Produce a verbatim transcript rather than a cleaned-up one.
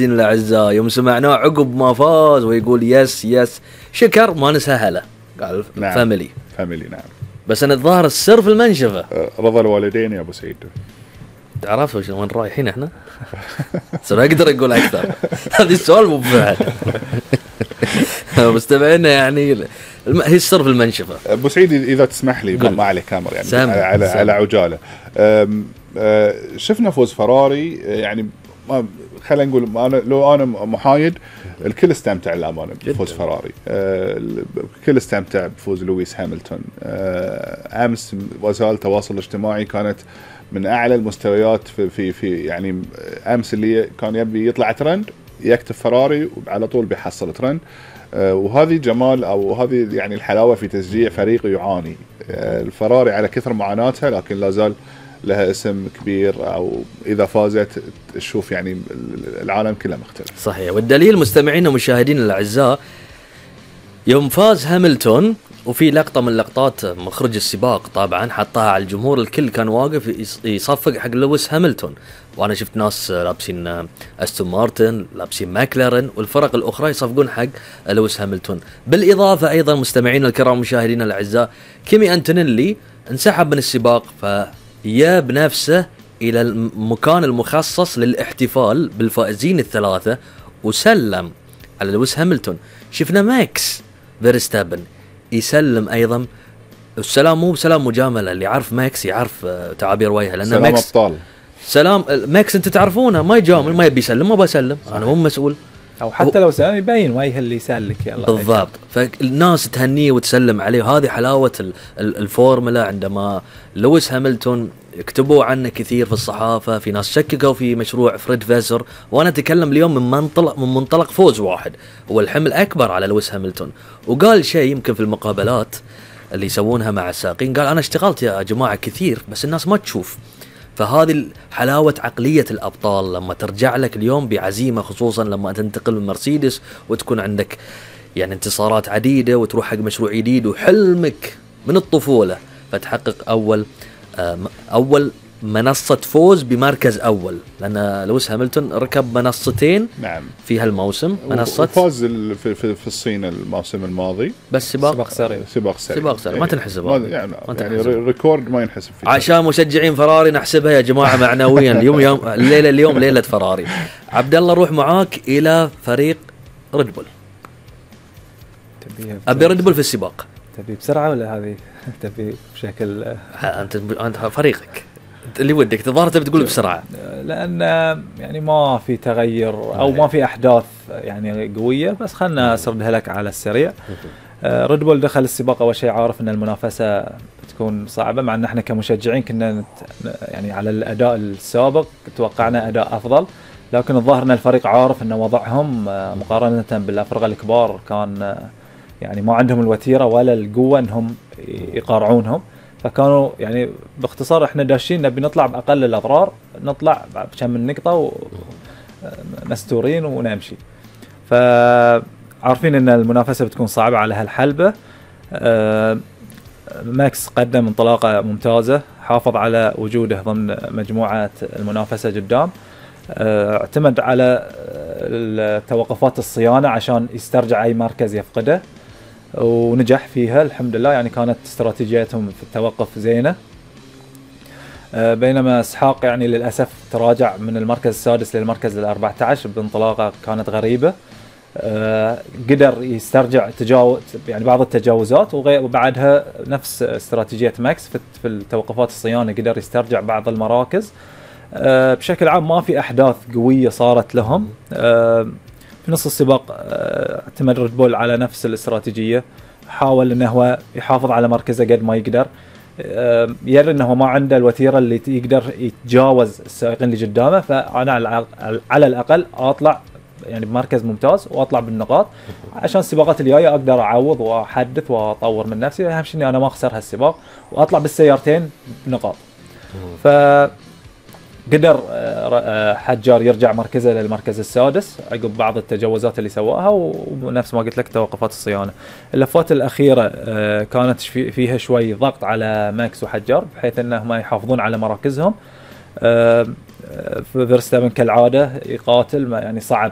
الأعزاء يوم سمعناه عقب ما فاز ويقول يس يس شكر ما نسهله قال نعم. فاميلي فاميلي نعم. بس أنا الظاهر السر في المنشفة. رضا الوالدين يا أبو سعيد. تعرفوا شو وين رايحين إحنا؟ صار أقدر أقول أكثر. هذا السؤال مو بفعل. مستمعينا يعني هي السر في المنشفة. أبو سعيد إذا تسمح لي ما عليه كاميرا يعني سام. على سام. على عجالة. شفنا فوز فراري يعني خلينا نقول أنا لو أنا محايد الكل استمتع للأمانة بفوز فراري. الكل استمتع بفوز لويس هاملتون. أمس وسائل التواصل الاجتماعي كانت من أعلى المستويات في في في يعني أمس اللي كان يبي يطلع ترند يكتب فراري وعلى طول بيحصل ترند. وهذه جمال أو هذه يعني الحلاوة في تشجيع فريق يعاني. الفراري على كثر معاناتها لكن لا زال لها اسم كبير أو إذا فازت تشوف يعني العالم كله مختلف. صحيح. والدليل مستمعين ومشاهدين الأعزاء يوم فاز هاملتون وفي لقطة من لقطات مخرج السباق طبعا حطها على الجمهور الكل كان واقف يصفق حق لويس هاملتون وأنا شفت ناس لابسين أستون مارتن لابسين ماكلارن والفرق الأخرى يصفقون حق لويس هاملتون. بالإضافة أيضا مستمعين الكرام مشاهدين الأعزاء كيمي أنتونيلي انسحب من السباق فيا بنفسه إلى المكان المخصص للاحتفال بالفائزين الثلاثة وسلم على لويس هاملتون. شفنا ماكس فيرستابن يسلم أيضا. السلام مو بسلام مجاملة اللي يعرف ماكس يعرف تعابير وجهه لأن سلام ماكس أبطال. سلام ماكس أنت تعرفونه ما يجامل ما يبي يسلم ما بسلم أنا مو مسؤول أو حتى لو سلام يبين وجه اللي يسلك يلا بالضبط. فالناس تهنيه وتسلم عليه وهذه حلاوة الفورمولا. عندما لويس هاملتون يكتبوا عنه كثير في الصحافة في ناس شككوا في مشروع فريد فيسر وأنا أتكلم اليوم من منطلق من منطلق فوز واحد هو الحمل أكبر على لويس هاملتون. وقال شيء يمكن في المقابلات اللي يسوونها مع السائقين قال أنا اشتغلت يا جماعة كثير بس الناس ما تشوف. فهذه حلاوة عقلية الأبطال لما ترجع لك اليوم بعزيمة خصوصا لما تنتقل من مرسيدس وتكون عندك يعني انتصارات عديدة وتروح حق مشروع جديد وحلمك من الطفولة فتحقق أول أول منصة فوز بمركز أول لأن لويس هاملتون ركب منصتين نعم في هالموسم منصة وفاز في, في, في الصين الموسم الماضي بس سباق سباق سريع سباق سريع سباق سريع ما تنحسب ما يعني, ما يعني ريكورد ما ينحسب فيه عشان مشجعين فراري نحسبها يا جماعة معنويا اليوم يوم الليلة اليوم ليلة فراري. عبد الله روح معاك إلى فريق ريد بول. أبي ريد بول في السباق تبي بسرعة ولا هذه تبي بشكل أنت أنت فريقك اللي ودك تظاهر تبي تقول بسرعة لأن يعني ما في تغير أو ما في أحداث يعني قوية بس خلنا أسردها لك على السريع. ريد بول دخل السباق أول شيء عارف أن المنافسة بتكون صعبة مع أن احنا كمشجعين كنا يعني على الأداء السابق توقعنا أداء أفضل لكن الظاهر أن الفريق عارف أن وضعهم مقارنة بالأفرقة الكبار كان يعني ما عندهم الوتيرة ولا القوة أنهم يقارعونهم فكانوا يعني باختصار احنا داشين نبي نطلع بأقل الأضرار نطلع بكم من نقطة ومستورين ونمشي. فعارفين أن المنافسة بتكون صعبة على هالحلبة. ماكس قدم انطلاقة ممتازة حافظ على وجوده ضمن مجموعة المنافسة قدام. اعتمد على توقفات الصيانة عشان يسترجع أي مركز يفقده ونجح فيها الحمد لله يعني كانت استراتيجيتهم في التوقف زينة. بينما اسحاق يعني للأسف تراجع من المركز السادس للمركز الأربعة عشر بانطلاقة كانت غريبة. قدر يسترجع تجاوز يعني بعض التجاوزات وبعدها نفس استراتيجية ماكس في التوقفات الصيانة قدر يسترجع بعض المراكز. بشكل عام ما في أحداث قوية صارت لهم. في نص السباق اعتمد ريد بول على نفس الاستراتيجية حاول انه هو يحافظ على مركزه قد ما يقدر يرى انه ما عنده الوتيرة اللي يقدر يتجاوز السائقين اللي قدامه فانا على الاقل اطلع يعني بمركز ممتاز واطلع بالنقاط عشان السباقات الجايه اقدر اعوض واحدث واطور من نفسي. اهم شيء اني انا ما اخسر هالسباق واطلع بالسيارتين بنقاط. ف قدر حجار يرجع مركزه للمركز السادس عقب بعض التجاوزات اللي سواها ونفس ما قلت لك توقفات الصيانة. اللفات الأخيرة كانت فيها شوي ضغط على ماكس وحجار بحيث أنهم يحافظون على مراكزهم. فيرستابن كالعاده يقاتل، ما يعني صعب